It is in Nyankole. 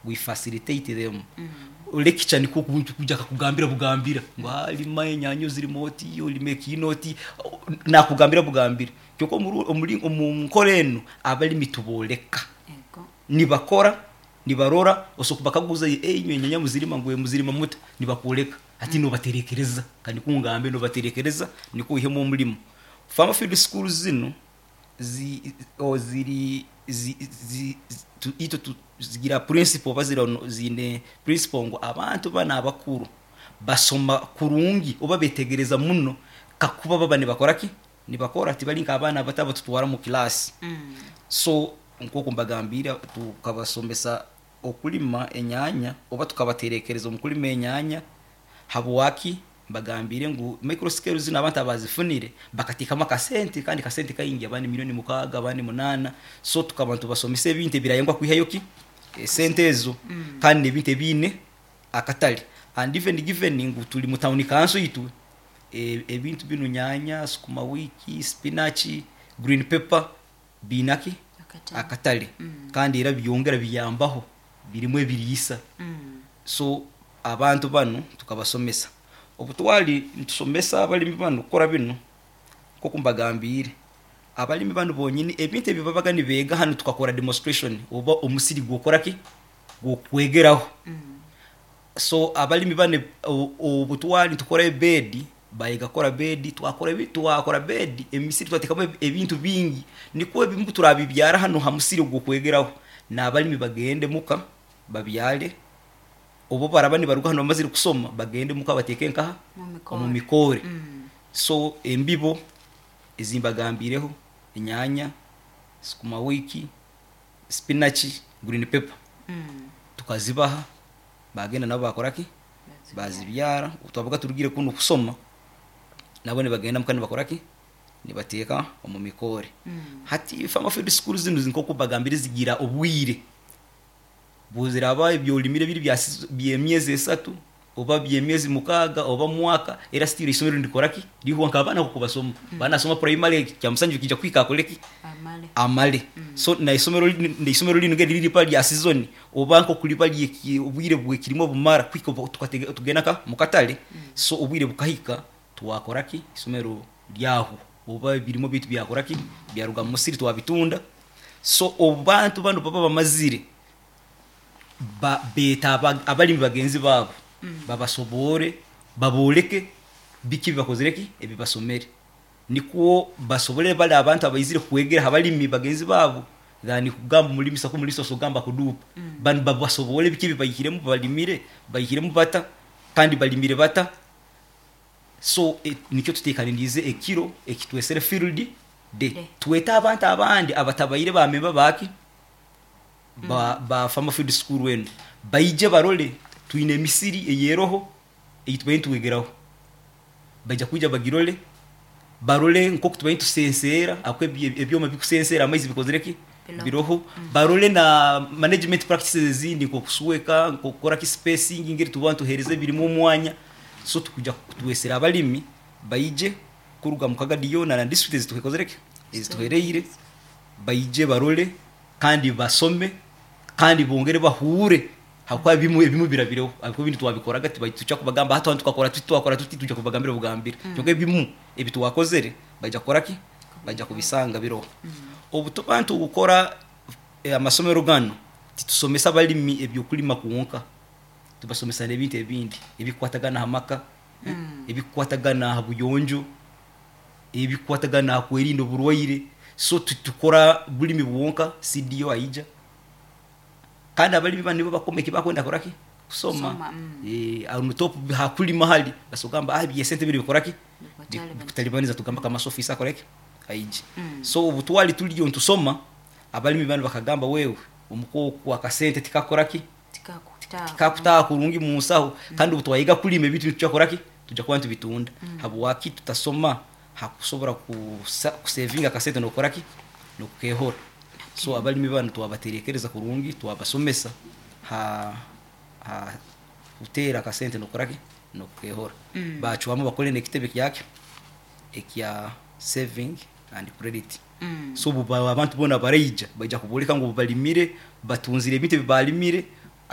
We facilitate them. Lecture nikwo kwija akakugambira bugambira ngu haa rima enyanya ozirime oti, orime ekiina oti, nakugambira bugambira. Kyonka omuri omu nkora enu abarimi tubooreka. Nibakora, nibarora, osobola kubakaguza inywe enyanya muzirima ngu muzirima muta? Nibakworeka. Hati nobaterekereza, ka nikwo ngambe nobaterekereza nikwo oihemu omurimo. Farmer field schools zinu zi ziri zi zi itwe zigira principle oba ziine principle ngu abantu banu abakuru basoma kurungi oba betegereza muno kakuba baba nibakora ki? Nibakora tibari nk'abaana abato abatutwara omu class. So nk'oku mbagambiire tukabasomesa okulima enyaanya oba tukabaterekereza omu kulima enyaanya habwaki Mbagambiire ngu micro scale zinu abantu abaazifunire bakateekamu akasente kandi kasente kaingi abandi milioni mukaaga abandi munaana so tukaba nitubasomesa ebintu ebirayangwa kwihayo ki esente ezo kandi n'ebintu ebiine akatare and even given ngu turi mu tawuni kanso itwe ebintu binu nyaanya, sukuma wiki, spinach, green pepper biine ki akatare kandi era byongera biyambaho birimu ebiriisa. So abantu banu tukabasomesa. Obu twali nitusomesa abalimi banu kukora binu, nk'oku mbagambiire, abalimi banu bonyini ebintu ebi babaga nibeega hanu tukakora demonstration oba omusiri gw'okukora ki? Gw'okwegeraho. So abalimi banu obu twali nitukora ebeedi, bayega kukora beedi, twakora twakora beedi, emisiri twateekamu ebintu bingi nikwo ebimu turabibyara hanu ha musiri ogw'okwegeraho, n'abalimi bagende muka babyare, obu baraba nibaruga hanu bamazire kusoma bagende muka bateeke nkaha? Omu mikoore. So embibo ezi mbagambiireho, enyaanya, sukuma wiki, spinach, green pepper, tukazibaha baagenda nabo baakora ki? Baazibyara. Obu twabaga turugire kunu kusoma, nabo nibagenda muka nibakora ki? Nibateeka omu mikoore. Hati farmer field school zinu nk'oku mbagambire zigira obwire. Buziraba ebi orimire biri bya season by'emyezi esatu oba by'emyezi mukaaga oba mwaka era still eisomero nirikora ki? Rihwa nk'abaana nk'oku basoma. Baana asoma primary kyamusanju kiija kuhika akore ki? Amale. Amale. So n'eisomero n'eisomero rinu ngeriri ririba rya season oba nk'oku riba rye obwire bw'ekirimo bumara kuhika obu tukatega tugenda nka mukatare so obwire bukahika twakora ki? Eisomero ryahwa oba ebirimo byaitu byakora ki? Byaruga mu musiri twabitunda. So obu bantu banu baba bamazire, ba beeta abalimi bagenzi baabo babasoboore, babooleke biki ebi bakozire ki? Ebi basomere. Nikwo basobole bari abantu abaizire kwegera ha balimi bagenzi baabo than kugamba omulimisa ku omulimisa osobola kugamba akuduupa. Banu babasoboore biki ebi baihiremu balimire, baihiremu bata kandi balimire bata. So nikyo tuteekaniriize ekiro eki twesere field day. Twete abantu abandi abatabaire ba memba ba ki? Ba ba Farmer Field School enu baije barole twine emisiri eyeroho ei tubaire nitwegeraho. Baija kwija bagirole, barole nk'oku tubaire nitusenseera ahakuba ebyoma ebikusenseera amaizi bikozire ki? Biroho. Barole na management practices ezindi nk'okusweka, nk'okukora ki spacing engeri tuba nituheereza ebirime omwanya. So tukwija twesere abalimi baije kuruga omu Kagadi yoona na disiturikiti ezitukozire ki? Ezituhereire baije barole kandi basome kandi bongere bahuure ahabw'okuba ebimwe ebimwe birabireho ahabw'okuba ebindi twabikoraga tituja kubagamba hati tukakora tuti twakora tuti twija kubagambira bugambire kwonka ebimu ebi twakozere baija kukora ki? Baija kubisanga biroho. Obu tuba nitukora amasomero ganu titusomesa abalimi eby'okulima kwonka. Tubasomesa n'ebintu ebindi ebikukwatagana aha maka, ebikukwatagana aha buyonjo, ebikukwatagana aha kwerinda oburwaire. So titukora bulimi bwonka, CDO aija. Kandi abalimi banu nibo bakoma eki bakwenda kukora ki? Kusoma. Kusoma, On top ha kulima hali, basobora kugamba ah eby'esente binu bikora ki? Bikutalibaniza tugamba kamasi ofiisi akore ki? Aije. So obu twali turiyo nitusoma, abalimi banu bakagamba wewe omuka oku akasente tikakukora ki? Tikakutaaha kurungi mu nsaho kandi obu twayega kulima ebintu nituja kukora ki? Nituja kuba nitubitunda. Habwaki tutasoma ha kusobora kusevinga akasente n'okukora ki? N'okukehora. So abalimi banu twabaterekereza kurungi, twabasomesa ha ha kuteera akasente n'okukora ki? N'okukehora. Baacwamu bakole n'ekitebe kyaki? Ekya saving and credit. So obu abantu boona baraija, baija kubooreka ngu balimire, batunzire ebintu ebi baalimire.